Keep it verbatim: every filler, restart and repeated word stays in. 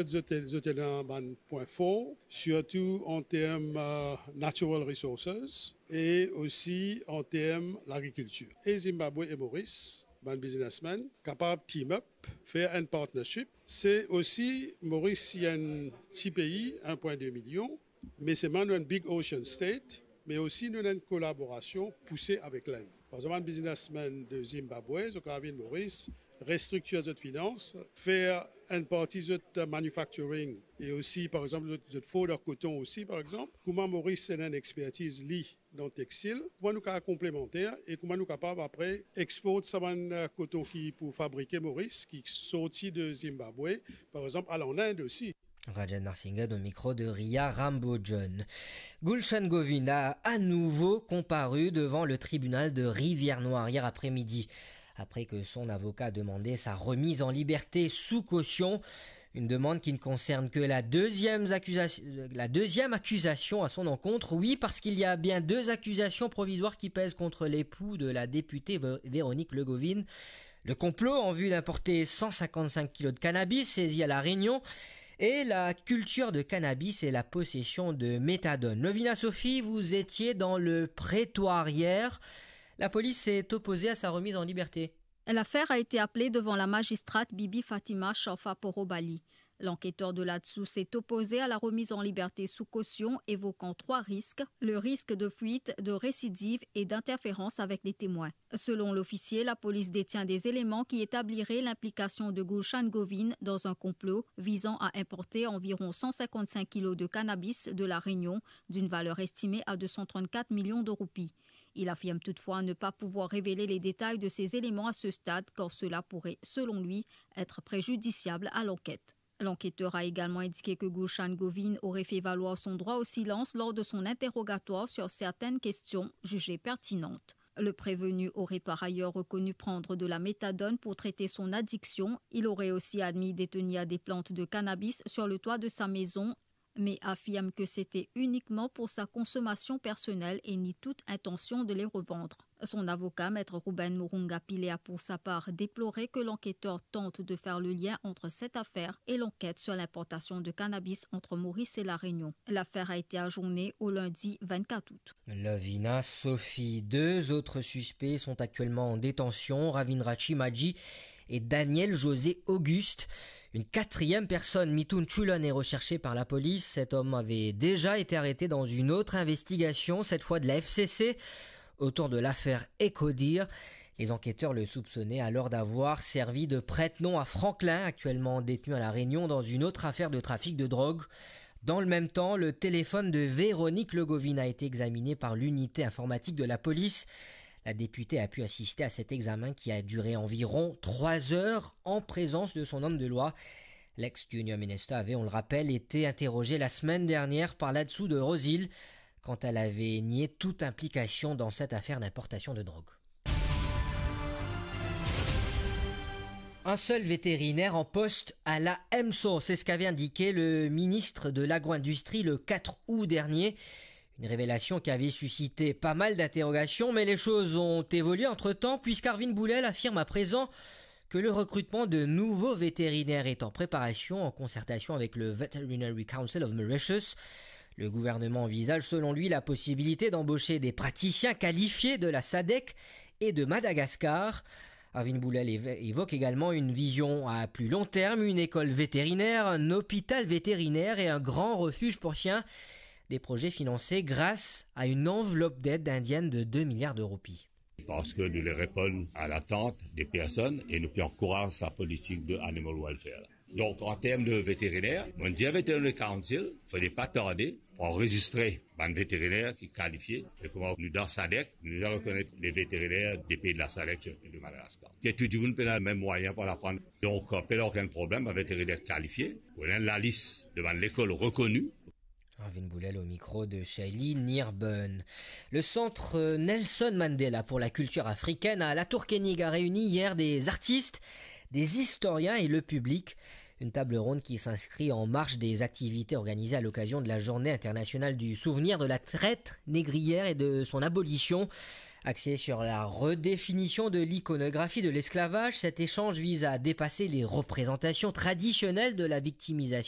Zot, zot ena bann pwin for, sirtou an term, eh, natural resources e osi an term lagrikiltir. E Zimbabwe e Moris, bann biznesmenn kapav team up, fer enn partnership. Se osi, Moris, li enn ti pei, enn pwin de milion, me selman nou enn big ocean state, me osi nou ena enn kolaborasion pouse avek Lenn. Par exanp, bann biznesmenn de Zimbabwe, zot kapav vinn Moris, restriktir zot finans, fer enn parti zot manufacturing, e osi, par exanp, zot, zot for dan koton osi, par exanp. Kouma Moris ena enn expertiz li dan textil, kouma nou kapav konplemanter e kouma nou kapav apre export sa bann, eh, koton ki pou fabrike Moris, ki sorti de Zimbabwe, par exanp, al an Inde osi. Rajan Narsinga au micro de Ria Rambojan. Gulshan Govind a à nouveau comparu devant le tribunal de Rivière-Noire hier après-midi, après que son avocat a demandé sa remise en liberté sous caution, une demande qui ne concerne que la deuxième accusation, la deuxième accusation à son encontre. Oui, parce qu'il y a bien deux accusations provisoires qui pèsent contre l'époux de la députée Vé-, Véronique Le Govind. Le complot en vue d'importer cent cinquante-cinq kilos de cannabis saisi à La Réunion et la culture de cannabis et la possession de méthadone. Lovina Sophie, vous étiez dans le prétoire hier. La police s'est opposée à sa remise en liberté. L'affaire a été appelée devant la magistrate Bibi Fatima Sharfa Porobali. L'enquêteur de là-dessous s'est opposé à la remise en liberté sous caution, évoquant trois risques, le risque de fuite, de récidive et d'interférence avec les témoins. Selon l'officier, la police détient des éléments qui établiraient l'implication de Gulshan Govind dans un complot visant à importer environ cent cinquante-cinq kilos de cannabis de La Réunion, d'une valeur estimée à deux cent trente-quatre millions de roupies. Il affirme toutefois ne pas pouvoir révéler les détails de ces éléments à ce stade, car cela pourrait, selon lui, être préjudiciable à l'enquête. L'enquêteur a également indiqué que Gulshan Govind aurait fait valoir son droit au silence lors de son interrogatoire sur certaines questions jugées pertinentes. Le prévenu aurait par ailleurs reconnu prendre de la méthadone pour traiter son addiction. Il aurait aussi admis détenir des plantes de cannabis sur le toit de sa maison, mais affirme que c'était uniquement pour sa consommation personnelle et nie toute intention de les revendre. Son avocat, Maître Ruben Murunga Pillay, a pour sa part déploré que l'enquêteur tente de faire le lien entre cette affaire et l'enquête sur l'importation de cannabis entre Maurice et La Réunion. L'affaire a été ajournée au lundi vingt-quatre août. Lovina Sophie. Deux autres suspects sont actuellement en détention, Ravin Rachi Maji et Daniel José Auguste. Une quatrième personne, Mithun Chulon, est recherchée par la police. Cet homme avait déjà été arrêté dans une autre investigation, cette fois de la F C C, autour de l'affaire Ecodir. Les enquêteurs le soupçonnaient alors d'avoir servi de prête-nom à Franklin, actuellement détenu à La Réunion dans une autre affaire de trafic de drogue. Dans le même temps, le téléphone de Véronique Le Govind a été examiné par l'unité informatique de la police. La députée a pu assister à cet examen qui a duré environ trois heures en présence de son homme de loi. L'ex-junior minister avait, on le rappelle, été interrogé la semaine dernière par là-dessous de Rose Hill, quand elle avait nié toute implication dans cette affaire d'importation de drogue. Un seul vétérinaire en poste à la EMSO, c'est ce qu'avait indiqué le ministre de l'Agro-industrie le quatre août dernier. Une révélation qui avait suscité pas mal d'interrogations, mais les choses ont évolué entre-temps, puisqu'Arvin Boulel affirme à présent que le recrutement de nouveaux vétérinaires est en préparation en concertation avec le Veterinary Council of Mauritius. Le gouvernement envisage selon lui la possibilité d'embaucher des praticiens qualifiés de la sadec et de Madagascar. Arvin Boulel évo-, évoque également une vision à plus long terme, une école vétérinaire, un hôpital vétérinaire et un grand refuge pour chiens. Des projets financés grâce à une enveloppe d'aide indienne de deux milliards de roupies. Parski nou le reponn a latant de personn e nou pe ankouraz sa politik de animal welfare la. Donk, an term de veteriner, mo dir Veterinary Council, fode pa tarde pou anrezistre bann veteriner ki kalifie. E kouma nou dan sadek, nou deja rekonet le veteriner de pei de la sadek e de Madagascar. Ki tou dimoun pena mem mwayin pou al aprann. Donk, pena okenn problem, bann veteriner kalifie, ou ena lalis de bann lekol rekoni. Arvin Boulel au micro de Shaylee Nirburn. Le centre Nelson Mandela pour la culture africaine à la Tour Koenig a réuni hier des artistes, des historiens et le public. Une table ronde qui s'inscrit en marge des activités organisées à l'occasion de la Journée internationale du souvenir de la traite négrière et de son abolition, axée sur la redéfinition de l'iconographie de l'esclavage. Cet échange vise à dépasser les représentations traditionnelles de la victimisation